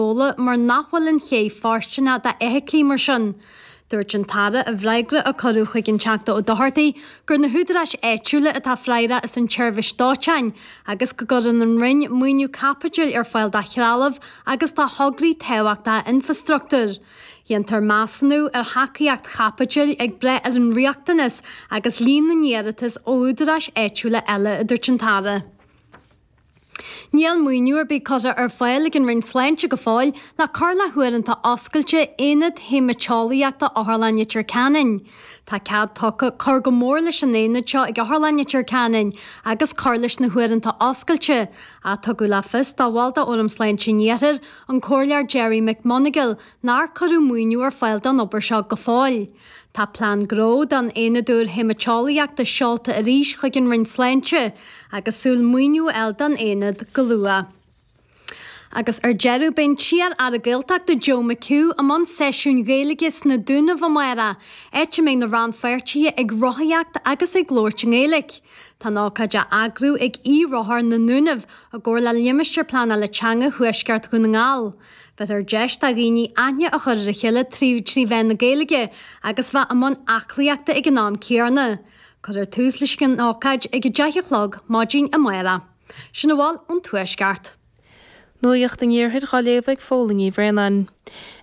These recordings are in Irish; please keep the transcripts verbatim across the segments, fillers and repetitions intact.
Gabhla mar nach bhfuil an ché fóirsteanach d'fheithiclí mar sin. Dúirt an tAire i bhfreagra a cuireadh chuig an Teachta Ó Dochartaigh gur na húdaráis áitiúla atá freagrach as an tseirbhís dóiteáin agus go gcuireann an Roinn maoiniú caipitil ar fáil do threalamh agus do thograí tábhachtacha infreastruchtúir. Déantar measúnú ar thacaíocht chaipitil ag brath ar an riachtanas agus líon na n-iarratas ó údaráis áitiúla eile, a dúirt an tAire. Níl maoiniú ar bith curtha ar fáil ag an Roinn Sláinte go fóill le cur le huaireanta oscailte Aonad Haemaiteolaíochta Otharlann Leitir Ceanainn. Tá cead tugtha cur go mór leis an aonad seo ag Otharlann Leitir Ceanainn agus cur leis na huaireanta oscailte, ach tugadh le fios do bhall de Fhóram Sláinte an Iarthair, an Comhairleoir Gerry McMonagall, nár cuireadh maoiniú ar fáil don obair seo go fóill. Tá plean gnó don aonad úr haemaiteolaíochta seolta arís chuig an Roinn Sláinte agus súil maoiniú a fháil don aonad go luath. Agus ar deireadh beidh an t-iar-aire Gaeltachta Joe McHugh i mbun seisiúin Ghaeilge sna Dúnaibh amárach, áit a mbeidh na rannpháirtithe ag rothaíocht agus ag labhairt i nGaeilge. Tá an ócáid á eagrú ag eRothar na nDúnaibh i gcomhar le Limistéar Pleanála Teanga Thuaisceart Dhún na nGall. Bheirtear deis do dhaoine aithne a chur ar a chéile trí trí mheán na Gaeilge agus bheith i mbun aclaíochta ag an am céanna. Cuirfear tús leis an ócáid ag a deich a chlog maidin amárach. Sin a bhfuil ón Tuaisceart. Nuacht an Iarthair á léamh ag Fódhla Ní Bhraonáin.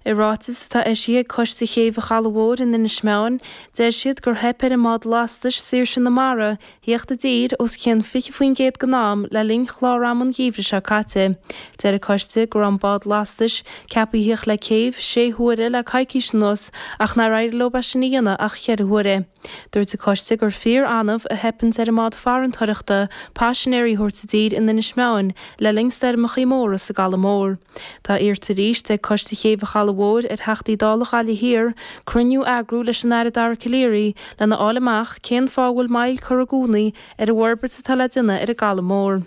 I ráiteas atá eisithe ag Coiste Chéibh an Chalaidh Mhóir in Inis Meáin, deir siad gur theip ar an mbád lastais Saoirse na Mara theacht i dtír os cionn fiche faoin gcéad den am le linn chlár ama an gheimhridh seo caite. Deir an coiste go raibh an bád lastais ceaptha theacht le céibh sé huaire le coicís anuas ach nár éirigh leo é sin a dhéanamh ach cheithre huaire. Dúirt an coiste gur fíor-annamh a theipeanns ar an mbád farantóireachta paisinéirí a thabhairt i dtír in Inis Meáin le linn stoirmeachaí móra sa gCaladh Mór. Tá iarrta arís ag Coiste Chéibh an Chalaidh Mhóir ar Theachtaí Dála Ghaillimh Thiar cruinniú a eagrú leis an Aire Dara Calleary lena fháil amach cén fáth a bhfuil moill curtha i gcónaí ar an bhforbairt atá le déanamh ar an gCaladh Mór.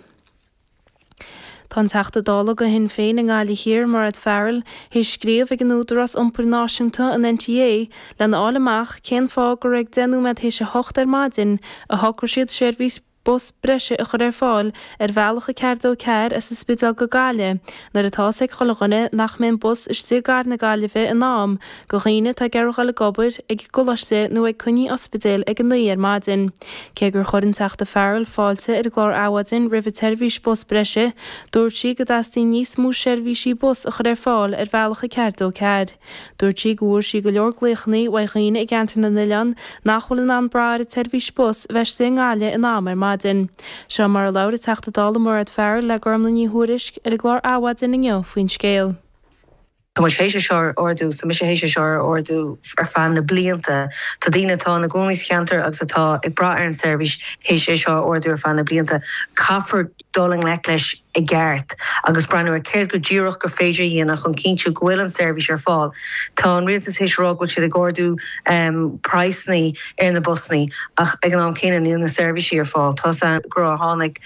Tá an Teachta Dála do Shinn Féin i nGaillimh Thiar, Mairéad Farrell, théis scríobh ag an Údarás Iompair Náisiúnta, an NTA, lena fháil amach cén fáth gur ag deich nóiméad théis a hocht ar maidin a shocraigh siad seirbhís bus breise a chur ar fáil ar bhealach a ceathair dó ceathair as an Spidéal go Gaillimh nuair atá fhios ag chuile dhuine nach mbeidh an bus istigh i gcathair na Gaillimhe in am do dhaoine atá ag iarraidh dhul ag obair, ag an gcoláiste nó ag coinní ospidéil ag a naoi ar maidin. Cé gur chuir an Teachta Farrell fáilte ar an gclár Adhmhaidin roimh an tseirbhís bus breise, dúirt sí go dteastaíonn níos mó seirbhísí bus a chur ar fáil ar bhealach a ceathair dó ceathair. Dúirt sí go bhfuair sí go leor glaochanna uaidh dhaoine i gceantar na n-oileán nach bhfuil in ann brath ar an tseirbhís bus a bheith istigh i nGaillimh in am ar maidin. Seo mar a labhair an Teachta Dála Mairéad Farrell le Gormlaith Ní Thuairisg ar an gclár Adhmhaidin inniu faoin scéal. Tá muid théis é seo a ardú, tá mise théis é seo a ardú ar feadh na blianta. Tá daoine atá ina gcónaí sa cheantar agus atá ag brath ar an seirbhís théis é seo a ardú ar feadh na blianta. Caithfear dul i ngleic leis i gceart agus breathnú ar céard go díreach gur féidir a dhéanamh chun cinntiú go bhfuil an seirbhís ar fáil. Tá an rialtas théis a rá go bhfuil siad ag ardú praghsanna ar na busanna ach ag an am céanna níl na seirbhísí ar fáil. Tá a fhios gur tháinig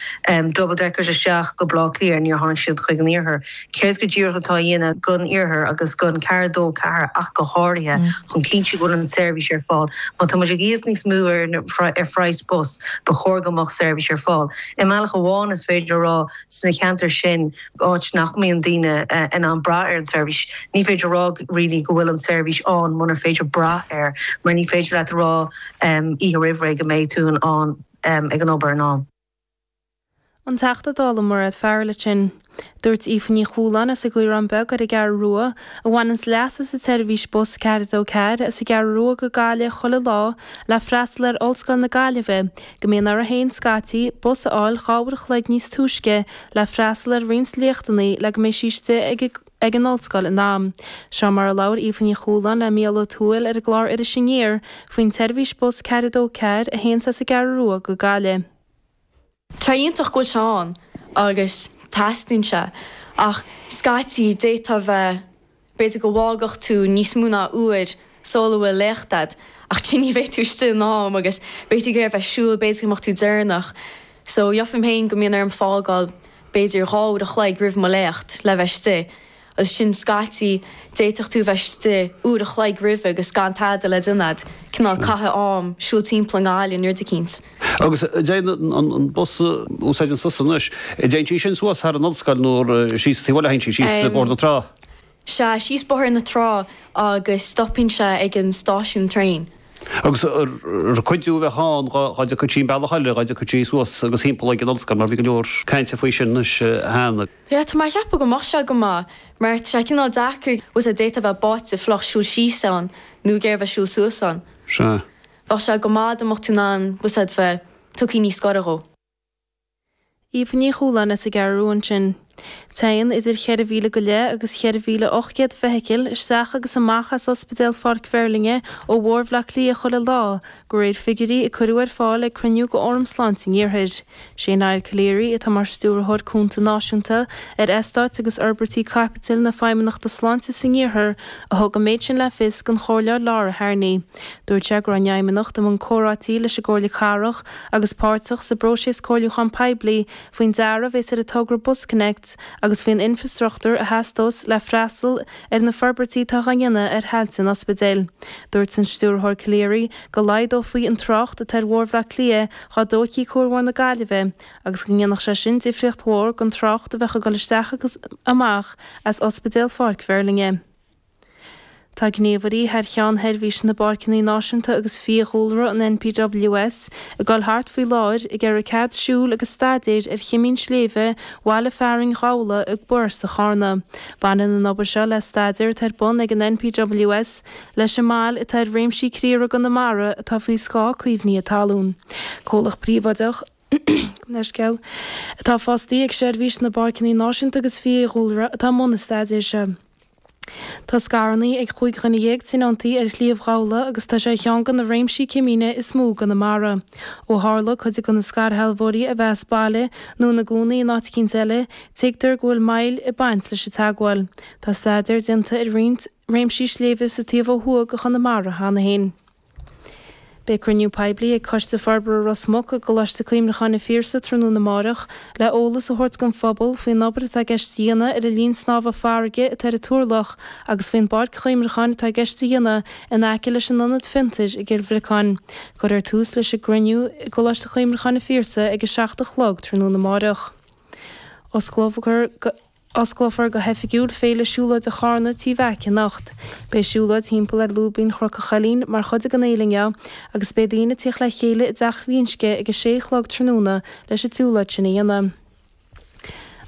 double deckers isteach go Baile Átha Cliath, níor tháinig siad chuig an iarthar. Céard go díreach atá á dhéanamh don iarthar agus don ceathair dó ceathair ach go háirithe chun cinntiú go bhfuil an seirbhís ar fáil? Má tá muid ag íoc níos mó ar ar phraghas bus, ba chóir go mbeadh seirbhís ar fáil. I mbealach amháin is féidir a rá sna ceantair sin, áit nach mbíonn daoine in ann brath ar an tseirbhís, ní féidir a rá really go bhfuil an tseirbhís ann munar féidir brath air, mar ní féidir leat a rá oíche roimh ré go mbeidh tú in ann ag an obair in am. An Teachta Dála Mairéad Farrell ansin. Dúirt Aoife Ní Chualáin as an gCaorán Beag ar an gCeathrú Rua, a bhaineanns leas as an tseirbhís bus ceathair dó ceathair as an gCeathrú Rua go Gaillimh chuile lá le freastal ar Ollscoil na Gaillimhe, go mbíonn uirthi féin scaití, bus a fháil dhá uair a chloig níos túisce le freastal ar roinnt léachtanna le go mbeidh sí istigh ag ag an ollscoil in am. Seo mar a labhair Aoife Ní Chualáin le Mícheál Ó Tuathail ar an gclár Iris Aniar faoin tseirbhís bus ceathair dó ceathair a théanns as an gCeathrú Rua go Gaillimh. Tá iontach go bhfuil sé ann agus teastaíonn sé ach scaití d'fhéadfá bheith, b'fhéidir go bhfágfadh tú níos mó ná uair sula bhfuil léacht a'd ach ní bheidh tú istigh in am agus beidh tú ag iarraidh bheith ag siúl, b'fhéidir go mbeadh tú deireanach. So gheofainn féin go mbíonn orm fágáil b'fhéidir dhá uair a chloig roimh mo léacht le bheith istigh. Agus sin scaití, d'fhéadfadh tú bheith istigh uair a chloig roimhe agus gan tada le déanamh a'd, cineál caitheamh am, siúl timpeall i nGaillimh nó rud eicínt. Agus an dtéann an bus a úsáideann tusa anois, an dtéann sí sin suas thar an ollscoil nó síos taobh eile, théann sí síos Bóthar na Trá? Sea, síos Bóthar na Trá agus stopann sé ag an stáisiún traein. Agus ar cuidiú a bheadh ann dhá dtiocfadh sí an bealach eile, dhá dtiocfadh sí suas agus thimpeall ag an ollscoil mar bhí go leor cainte faoi sin anois cheana. Yeah, tá mé ag ceapadh go mbeadh sé go maith mar tá sé cineál deacair, bhfuil a fhios a'd, d'fhéadfá a bheith báite fliuch siúl síos ann nó ag iarraidh a bheith siúl suas ann. Sea. Bheadh sé go maith dá mbeadh tú in ann, bhfuil a fhios a'd, bheith tugtha níos gaire dhó. Aoife Ní Chualáin as an gCeathrú Rua ansin. Téann idir cheithre mhíle go leith agus cheithre mhíle ocht gcéad feithicil isteach agus amach as Ospidéal Pháirc Mheirlinne ó Bhóthar Bhaile Átha Cliath chuile lá, de réir figiúirí a cuireadh ar fáil ag cruinniú de Fhóram Sláinte an Iarthair. Sé Niall Calleary, atá mar Stiúrthóir Cúnta Náisiúnta ar Eastáit agus Fhorbairtí Caipitil na Feidhmeannachta Sláinte san Iarthar, a thug an méid sin le fios don Chomhairleoir Laura Harney. Dúirt sé go raibh an Fheidhmeannacht i mbun comhráití leis an gComhairle Cathrach agus páirteach sa bpróiseas comhairliúcháin poiblí faoin dearadh a bheas ar an togra BusConnects agus faoin infreastruchtúr a theastós le freastal ar na forbairtí atá á ndéanamh ar thailte an ospidéil. Dúirt an Stiúrthóir Calleary go laghdófaí an trácht atá ar Bhóthar Bhaile Átha Cliath dhá dtógfaí Cuarbhóthar na Gaillimhe agus go ndéanfadh sé sin difríocht mhór don trácht a bheadh ag dul isteach agus amach as Ospidéal Pháirc Mheirlinne. Tá gníomhairí thar cheann Sheirbhís na bPáirceanna Náisiúnta agus Fiadhúlra, an NPWS, ag dul thart faoi láthair ag iarraidh cead siúil agus staidéir ar chimín sléibhe bhaile fearainn Ghabhla i bParóiste Charna. Baineann an obair seo le staidéar atá ar bun ag an NPWS leis an mbail atá ar réimsí criathraigh i gConamara atá faoi scáth caomhnaithe talún. Comhlacht príobháideach leithscéal, atá fostaí ag Seirbhís na bPáirceanna Náisiúnta agus Fiadhúlra atá i mbun an staidéir seo. Tá scaireanna ag chúig dhuine dhéag tionóntaí ar Shliabh Ghabhla agus tá sé ar cheann de na réimsí cimíne is mó i gConamara. Ó tharla cuid de na scairshealbhóirí a bheith as baile nó ina gcónaí in áit eicínt eile, tuigtear go bhfuil moill ag baint leis an teagmháil. Tá staidéar déanta ar roinnt réimsí sléibhe sa taobh ó thuaidh de Chonamara cheana féin. Beidh cruinniú poiblí ag Coiste Forbartha Ros Muc i gColáiste Cuimhneacháin an Phiarsaigh tráthnóna amárach le eolas a thabhairt don phobal faoin obair atá i gceist a dhéanamh ar an linn snámha farraige atá ar an Turlach agus faoin bpáirc chuimhneacháin atá i gceist a dhéanamh in aice leis an Ionad Fiontair i gCill Bhriocáin. Cuirfear tús leis an gcruinniú i gColáiste Cuimhneacháin an Phiarsaigh ag a seacht a chlog tráthnóna amárach. Osclófar go. Osclófar go hoifigiúil Féile Siúlóide Charna Tí Mheaic anocht. Beidh siúlóid timpeall ar Lúibín Chnoc an Choillín mar chuid den fhéile inniu agus beidh daoine ag tíocht le chéile i dTeach Ghlinsce ag a sé a chlog tráthnóna leis an tsiúlóid sin a dhéanamh.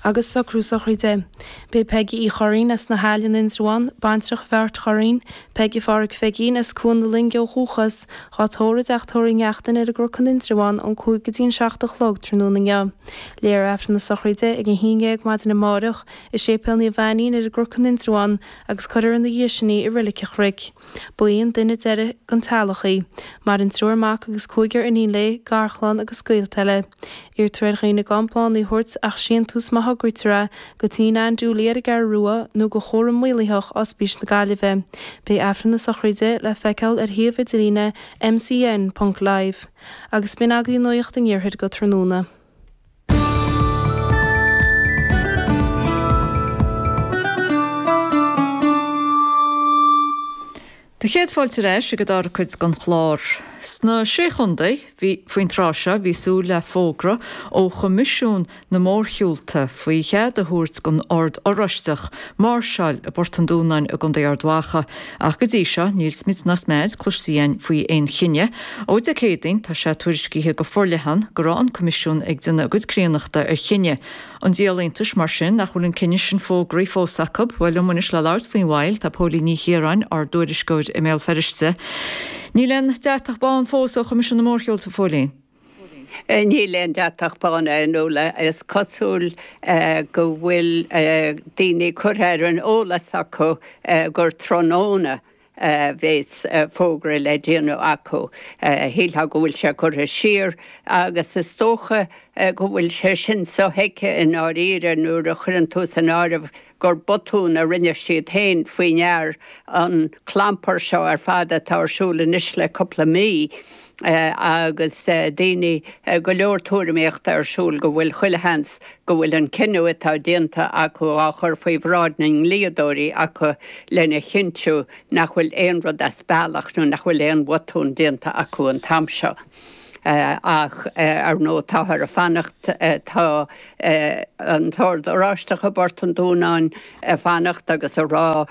Agus socrú sochraide. Beidh Peigí Uí Churraoin as na hAille in Indreabhán, baintreach Bheáirt Churraoin, Peige Pháraic Pheigín as Cuan na Loinge ó dhúchas, dhá tórramh i dTeach Tórraimh Uí Neachtain ar an gCnoc in Indreabhán ón cúig go dtí an seacht a chlog tráthnóna inniu. Léifear Aifreann na sochraide ag a haon dhéag maidin amáireach i Séipéal Naomh Ainnín ar an gCnoc in Indreabhán agus cuirfear ina dhiaidh sin í i Reilig an Chnoic. Ba í an duine deiridh den teaghlach í. Maireann triúr mac agus cúigear iníon léi, garchlann agus gaolta eile. Iarrtar ar dhaoine gan bláthanna a thabhairt ach síntiús má thograítear é go Tí Ann Dooley ar an gCeathrú Rua nó go Chúram Maolaitheach Ospís na Gaillimhe. Beidh Aifreann na sochraide le feiceáil ar shuíomh idirlíne MCN ponc live. Agus b'in agaibh Nuacht an Iarthair go tráthnóna. Tá céad fáilte ar ais ag an dara cuid den chlár. Sna Sé Chontae, bhí, faoin tráth seo, bhí súil le fógra ó Choimisiún na Mórshiúlta faoi chead a thabhairt don Ord Oráisteach máirseáil i bPort an Dúnáin i gContae Ard Mhacha, ach go dtí seo níl smid ná smeid cloiste againn faoi aon chinneadh. Ó Dé Céadaoin tá sé tuairiscithe go forleathan go raibh an Coimisiún ag déanamh a gcuid críonnachta ar chinneadh. An díol iontais mar sin nach bhfuil an cinneadh sin fógraithe fós acu? Bhuel, liom anois le labhairt faoin mhoill tá Póilín Ní Chiaráin, ár dtuairisceoir i mBéal Feirste. Níl aon deatach bán fós ó Choimisiún na Mórshiúlta, a Phóilín. Níl aon deatach bán, a Fhionnuala. Is cosúil go bhfuil daoine curtha ar an eolas acu gur tráthnóna a bheas fógra le déanamh acu. Shílfeá go bhfuil sé curtha siar agus is dócha go bhfuil sé sin sothuigthe i ndáiríre nuair a chuireann tú san áireamh gur botún a rinne siad féin faoi ndear an clampar seo ar fad atá ar siúl anois le cúpla mí agus daoine, go leor tuairimíochta ar siúl go bhfuil chuile sheans go bhfuil an cinneadh atá déanta acu á chur faoi bhráid na ndlíodóirí acu lena chinntiú nach bhfuil aon rud as bealach nó nach bhfuil aon bhotún déanta acu an t-am seo. Ach ar ndóigh táthar ag fanacht, tá an tOrd Oráisteach i bPort an Dúnáin ag fanacht agus ag rá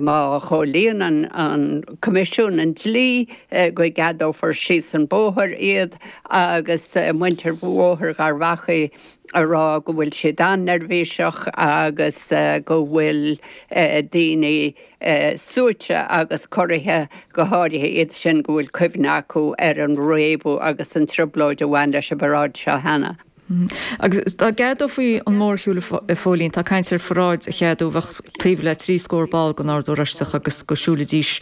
má chomhlíonann an Coimisiún an dlí go gceadófar síos an bóthar iad agus muintir Bhóthar Gharbhachaidh ag rá go bhfuil siad an-neirbhíseach agus go bhfuil daoine suaite agus corraithe, go háirithe iad sin go bhfuil cuimhne acu ar an réabadh agus an trioblóid a bhain leis an bparáid seo cheana. Agus dá gceadófaí an mórshiúl, a Phóilín, tá caint ar pharáid a cheadú a bheadh taobh le trí scór ball den Ord Oráisteach agus go siúlfaidís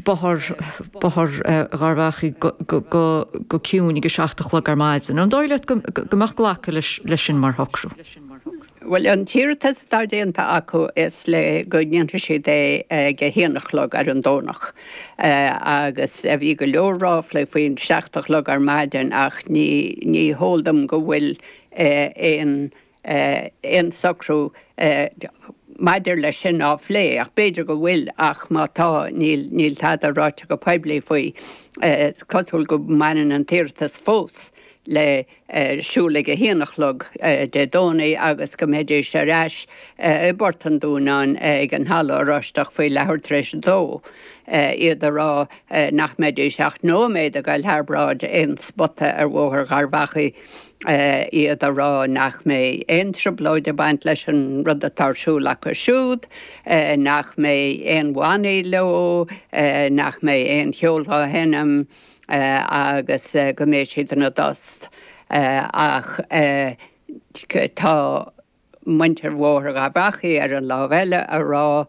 Bóthar Bóthar Gharbhachaidh go ciúin ag a seacht a chlog ar maidin. An dóigh leat go mbeadh glacadh leis sin mar shocrú? Bhuel, an t-iarratas atá déanta acu is le go ndéanfaidh siad é ag a haon a chlog ar an Domhnach. Agus bhí go leor ráflaí faoin seacht a chlog ar maidin ach ní ní heol dom go bhfuil aon aon socrú maidir leis sin á phlé, ach b'fhéidir go bhfuil ach má tá níl níl tada ráite go poiblí faoi. Is cosúil go mbaineann an t-iarratas fós le siúl ag a haon a chlog Dé Domhnaigh agus go mbeidís ar ais i bPort an Dúnáin ag an Halla Oráisteach faoi leathuair tar éis a dó. Iad ag rá nach mbeidís ach nóiméad ag dul thar bráid aon spota ar Bhóthar Gharbhachaidh, iad ag rá nach mbeidh aon trioblóid ag baint leis an rud atá ar siúl acu siúd, nach mbeidh aon bhannaí leo, nach mbeidh aon cheol á sheinm. agus go mbeidh siad ina dtost ach tá muintir Bhóthar Gharbhachaidh ar an lámh eile ag rá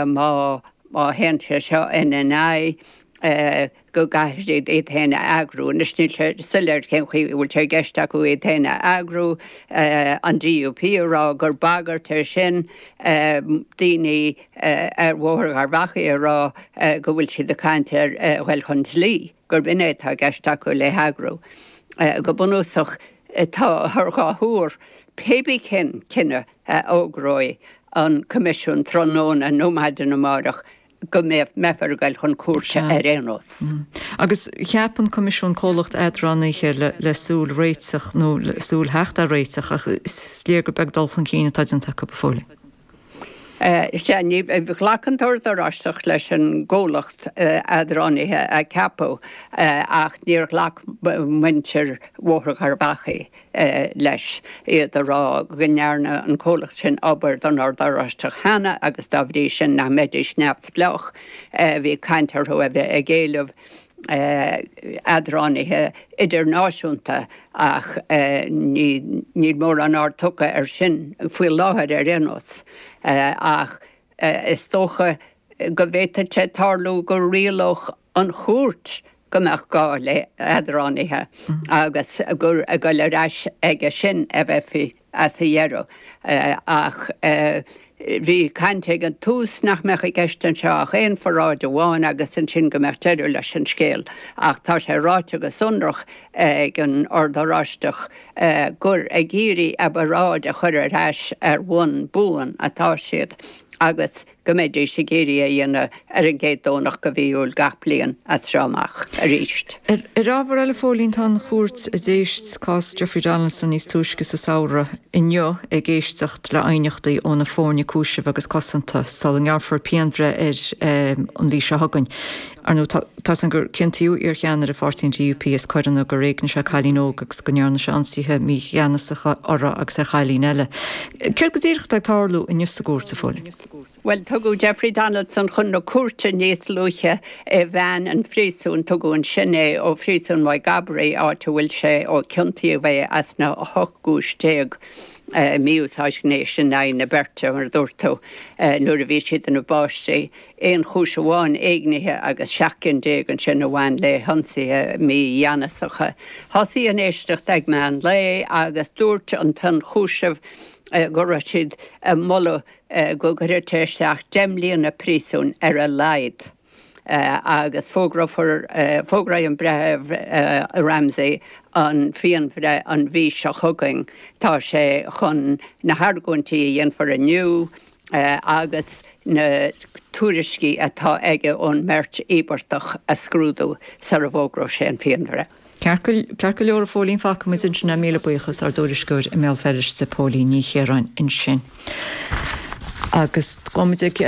má má théann sé seo ina n-aghaidh go gcaithfidh siad iad féin a eagrú. Anois níl sé soiléir cén chaoi a bhfuil sé i gceist acu iad féin a eagrú, an DUP ag rá gur bagairt é sin, daoine ar Bhóthar Gharbhachaidh ag rá go bhfuil siad ag caint ar dhul chun dlí, gurb in é atá i gceist acu le heagrú. Go bunúsach, tá ar dhá thuar, pé bí cén cinneadh a fhógróidh an Coimisiún tráthnóna nó maidin amárach, go mbeifear ag dul chun cúirte ar aon nós. Agus cheap an Coimisiún comhlacht eadránaithe le súil réiteach nó le súil theacht ar réiteach ach is léir gur beag dul chun cinn atá déanta acu go fóill. Sea, ní ghlac an tOrd Oráisteach leis an gcomhlacht eadránaithe a ceapadh ach níor ghlac muintir Bhóthar Gharbhachaidh leis, iad ag rá go ndearna an comhlacht sin obair don Ord Oráisteach cheana agus dá bhrí sin nach mbeidís neamhspleách. Bhí caint orthu a bheith ag éileamh eadránaithe idirnáisiúnta ach níl mórán aird tugtha air sin faoi láthair ar aon nós. Ach is dócha go bhféadfadh sé tarlú go rialódh an chúirt go mbeadh gá le headránaithe agus gur ag dul ar ais aige sin a bheifí as a dheireadh. Ach bhí caint ag an tús nach mbeadh i gceist anseo ach aon pharáid amháin agus ansin go mbeadh deireadh leis an scéal. Ach tá sé ráite go sonrach ag an Ord Oráisteach gur ag iarraidh a bparáid a chur ar ais ar bhonn buan atá siad agus go mbeidís ag iarraidh é a dhéanamh ar an gcéad Domhnach de mhí Iúil gach bliain as seo amach arís. Ar ábhar eile, a Phóilín, tá an chúirt a d'éist cás Jeffrey Donaldson níos túisce sa samhradh inniu ag éisteacht le aighneachtaí ó na foirne cúisimh agus cosanta sula ngearrfar pianbhreith air an mhí seo chugainn. Ar ndóigh, tá a fhios againn gur ciontaíodh iarcheannaire pháirtí an DUP as coireanna gur éignigh sé cailín óg agus go ndearna sé ionsaithe mígheanasacha uirthi agus ar chailín eile. Céard go díreach atá ag tarlú inniu sa gcúirt, a Phóilín? Bhuel, tugadh Jeffrey Donaldson chun na cúirte níos luaithe i veain an phríosúin. Tugadh ansin é ó phríosún Mhaigh gCabraí, áit a bhfuil sé ó ciontaíodh é as na hocht gcúis déag mí-úsáid ghnéis in aghaidh na beirte, mar a dúirt tú, nuair a bhí siad ina bpáistí. Aon chúis amháin éignithe agus seacht gcinn déag ansin a bhain le hionsaithe mígheanasacha. Thosaigh an éisteacht ag meán lae agus dúirt an t-ionchúiseamh go raibh siad ag moladh go gcuirfeadh sé isteach deich mbliana príosúin ar a laghad agus fógrófar, fógróidh an Breitheamh Ramsey an phianbhreith an mhí seo chugainn. Tá sé chun na hargóintí a dhéanfar inniu agus na tuairiscí atá aige ón mbeirt íobartach a scrúdú sara bhfógróidh sé an phianbhreith. Ceart go leor a Phóilín fágfaimid ansin é míle buíochas ár dtuairisceoir i mBéal Feirste Póilín Ní Chiaráin ansin. Agus gabhfaimid ag